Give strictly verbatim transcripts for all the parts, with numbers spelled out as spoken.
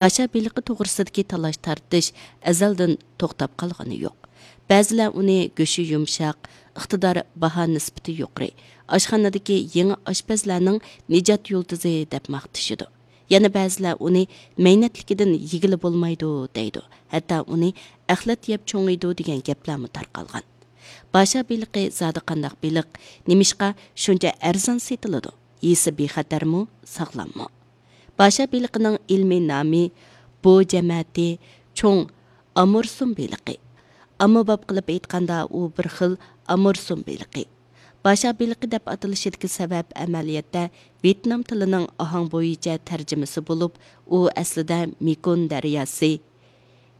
باشا بېلىقى توغرىسىدىكى تالاش-تارتىش ئەزەلدىن توختاپ قالغىنى يوق. بەزىلەر ئۇنى گۆشى يۇمشاق، ئىقتىدار، باھا نىسبىتى يۇقىرى، ئاشخانىدىكى يېڭى ئاشپەزلەرنىڭ نىجات يۇلتۇزى دەپ ماختىشىدۇ. يەنە بەزىلەر ئۇنى مەينەتلىكىدىن يېگىلى بولمايدۇ دەيدۇ. ھەتتا ئۇنى ئەخلەت يەپ چوڭىيىدۇ دېگەن گەپلەرمۇ تارقالغان. باشا بېلىقى زادى قانداق بېلىق؟ نېمىشقا شۇنچە ئەرزان سېتىلىدۇ؟ يېسە بىخەتەرمۇ، ساغلاممۇ؟ باشا بېلىقىنىڭ ئىلمىي نامى بو جەمەتى چوڭ ئامۇرسۇم بېلىقى. ئاممىباب قىلىپ ئېيتقاندا، ئۇ بىر خىل ئامۇرسۇم بېلىقى. باشا بېلىقى دەپ ئاتىلىشىدىكى سەۋەب ئەمەلىيەتتە ۋيېتنام تىلىنىڭ ئاھاڭ بويىچە تەرجىمىسى بولۇپ، ئۇ ئەسلىدە مېكون دەرياسى،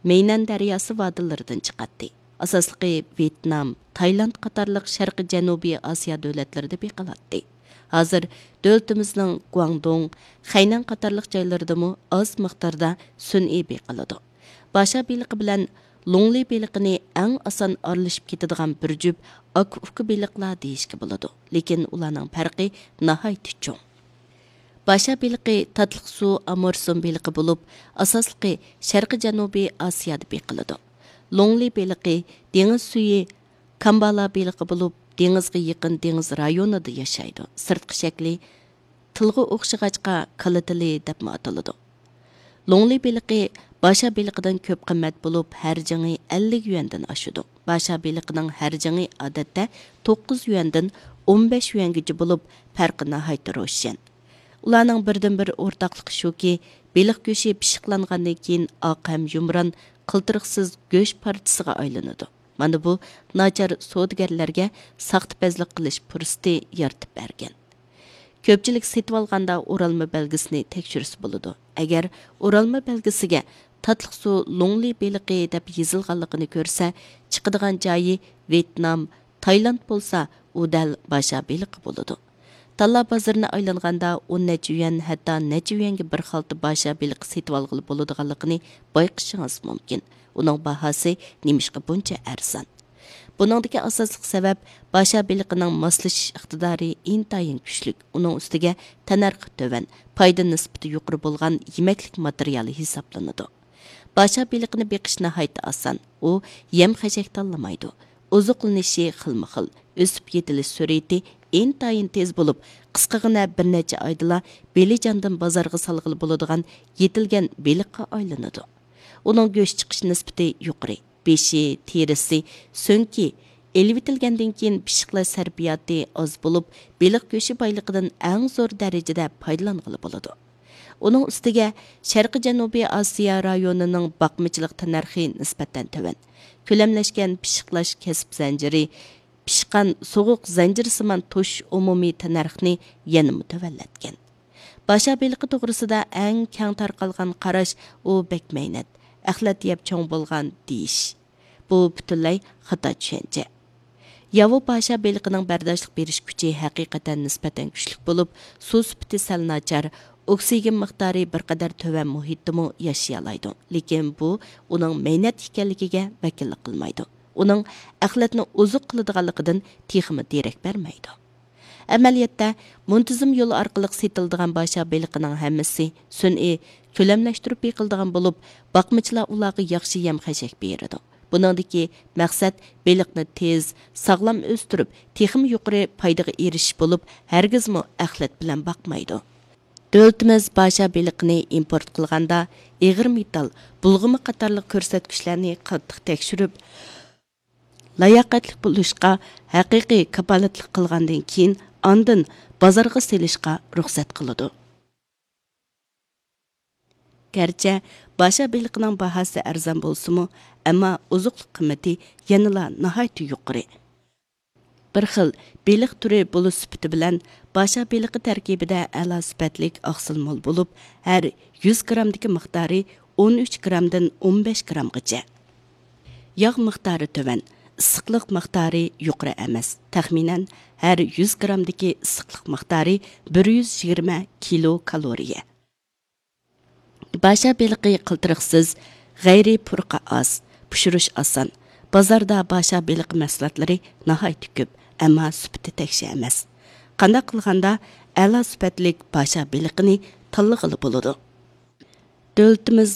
مەينەن دەرياسى ۋادىلىرىدىن چىقاتتى. ئاساسلىقى ۋيېتنام، تايلاند قاتارلىق شەرقىي جەنۇبىي ئاسىيا دۆلەتلىرىدە بېقىلاتتى. ھازىر دۆلىتىمىزنىڭ گۇاڭدۇڭ، خەينەن قاتارلىق جايلىرىدىمۇ ئاز مىقداردا سۈنئىي بېقىلىدۇ. باشا بېلىقى بىلەن لۇڭلى بېلىقىنى ئەڭ ئاسان ئارىلىشىپ كېتىدىغان بىر جۈپ ئاكا-ئۇكا بېلىقلار دېيىشكە بولىدۇ، لېكىن ئۇلارنىڭ پەرقى ناھايىتى چوڭ. باشا بېلىقى تاتلىق سۇ ئامۇرسۇم بېلىقى بولۇپ، ئاساسلىقى شەرقىي جەنۇبىي ئاسىيادا بېقىلىدۇ. لۇڭلى بېلىقى دېڭىز سۈيى كامبالا بېلىقى بولۇپ، دېڭىزغا يېقىن دېڭىز رايونىدا ياشايدۇ. سىرتقى شەكلى تىلغا ئوخشىغاچقا، كالا تىلى دەپمۇ ئاتىلىدۇ. لۇڭلى بېلىقى باشا بېلىقىدىن كۆپ قىممەت بولۇپ، ھەر جىڭى ئەللىك يۈەندىن ئاشىدۇ. باشا بېلىقىنىڭ ھەر جىڭى ئادەتتە توققۇز يۈەندىن ئون بەش يۈەنگىچە بولۇپ، پەرقى ناھايىتى روشەن. ئۇلارنىڭ بىردىنبىر ئورتاقلىقى شۇكى، بېلىق گۆشى پىششىقلانغاندىن كېيىن ئاق ھەم يۇمران، قىلتىرىقسىز گۆش پارچىسىغا ئايلىنىدۇ. مانا بۇ ناچار سودىگەرلەرگە ساختىپەزلىك قىلىش پۇرسىتى يارىتىپ بەرگەن. كۆپچىلىك سېتىۋالغاندا ئورالما بەلگىسىنى تەكشۈرسە بولىدۇ. ئەگەر ئورالما بەلگىسىگە تاتلىق سۇ لۇڭلى بېلىقى دەپ يېزىلغانلىقىنى كۆرسە، چىقىدىغان جايى ۋيېتنام، تايلاند بولسا، ئۇ دەل باشا بېلىقى بولىدۇ. تاللا بازىرىنى ئايلانغاندا ئون نەچچە يۈەن، ھەتتا نەچچە يۈەنگە بىر خالتا باشا بېلىقى سېتىۋالغىلى بولىدىغانلىقىنى بايقىشىڭىز مۇمكىن. ئۇنىڭ باھاسى نېمىشقا بۇنچە ئەرزان؟ بۇنىڭدىكى ئاساسلىق سەۋەب، باشا بېلىقىنىڭ ماسلىشىش ئىقتىدارى ئىنتايىن كۈچلۈك، ئۇنىڭ ئۈستىگە تەننەرخى تۆۋەن، پايدا نىسبىتى يۇقىرى بولغان يېمەكلىك ماتېرىيالى ھېسابلىنىدۇ. باشا بېلىقىنى بېقىش ناھايىتى ئاسان، ئۇ يەم-خەشەك تاللىمايدۇ. ئوزۇقلىنىشى خىلمۇ خىل، ئۆسۈپ يېتىلىش سۈرئىتى ئىنتايىن تېز بولۇپ، قىسقىغىنە بىر نەچچە ئايدىلا بېلىجاندىن بازارغا سالغىلى بولىدىغان يېتىلگەن بېلىققا ئايلىنىدۇ. ئۇنىڭ گۆش چىقىش نىسبىتى يۇقىرى. بېشى، تېرىسى، سۆڭىكى ئېلىۋېتىلگەندىن كېيىن پىششىقلاش سەرپىياتى ئاز بولۇپ، بېلىق گۆشى بايلىقىدىن ئەڭ زور دەرىجىدە پايدىلانغىلى بولىدۇ. ئۇنىڭ ئۈستىگە شەرقىي جەنۇبىي ئاسىيا رايونىنىڭ باقمىچىلىق تەننەرخى نىسبەتەن تۆۋەن. كۆلەملەشكەن پىششىقلاش كەسىپ زەنجىرى، پىشقان سوغۇق زەنجىرسىمان توشۇش ئومۇمىي تەننەرخنى يەنىمۇ تۆۋەنلەتكەن. باشا بېلىقى توغرىسىدا ئەڭ كەڭ تارقالغان قاراش، ئۇ بەك مەينەت، ئەخلەت يەپ چوڭ بولغان دېيىش. بۇ پۈتۈنلەي خاتا چۈشەنچە. ياۋا باشا بېلىقىنىڭ بەرداشلىق بېرىش كۈچى ھەقىقەتەن نىسبەتەن كۈچلۈك بولۇپ، سۇ سۈپىتى سەل ناچار، ئوكسىگېن مىقدارى بىر قەدەر تۆۋەن مۇھىتتىمۇ ياشىيالايدۇ. لېكىن بۇ ئۇنىڭ مەينەت ئىكەنلىكىگە ۋەكىللىك قىلمايدۇ. ئۇنىڭ ئەخلەتنى ئوزۇق قىلىدىغانلىقىدىن تېخىمۇ دېرەك بەرمەيدۇ. ئەمەلىيەتتە، مۇنتىزىم يول ئارقىلىق سېتىلىدىغان باشا بېلىقىنىڭ ھەممىسى سۈنئىي، كۆلەملەشتۈرۈپ بېقىلىدىغان بولۇپ، باقمىچىلار ئۇلارغا ياخشى يەم-خەشەك بېرىدۇ. بۇنىڭدىكى مەقسەت بېلىقنى تېز، ساغلام ئۆستۈرۈپ، تېخىمۇ يۇقىرى پايدىغا ئېرىشىش بولۇپ، ھەرگىزمۇ ئەخلەت بىلەن باقمايدۇ. دۆلىتىمىز باشا بېلىقىنى ئىمپورت قىلغاندا، ئېغىر مېتال، بۇلغىما قاتارلىق كۆرسەتكۈچلەرنى قاتتىق تەكشۈرۈپ، لاياقەتلىك بولۇشقا ھەقىقىي كاپالەتلىك قىلغاندىن كېيىن، ئاندىن بازارغا سېلىشقا رۇخسەت قىلىدۇ. گەرچە باشا بېلىقىنىڭ باھاسى ئەرزان بولسىمۇ، ئەمما ئوزۇقلۇق قىممىتى يەنىلا ناھايىتى يۇقىرى. بىر خىل بېلىق تۈرى بولۇش سۈپىتى بىلەن، باشا بېلىقى تەركىبىدە ئەلا سۈپەتلىك ئاقسىل مول بولۇپ، ھەر يۈز گرامدىكى مىقدارى ئون ئۈچ گرامدىن ئون بەش گرامغىچە. ياغ مىقدارى تۆۋەن، ئىسسىقلىق مىقدارى يۇقىرى ئەمەس، تەخمىنەن ھەر يۈز گرامدىكى ئىسسىقلىق مىقدارى بىر يۈز يىگىرمە كىلو كالورىيە. باشا بېلىقى قىلتىرىقسىز، غەيرىي پۇرىقى ئاز، پىشۇرۇش ئاسان. بازاردا باشا بېلىقى مەھسۇلاتلىرى ناھايىتى كۆپ، ئەمما سۈپىتى تەكشى ئەمەس. قانداق قىلغاندا ئەلا سۈپەتلىك باشا بېلىقىنى تاللىغىلى بولىدۇ؟ دۆلىتىمىز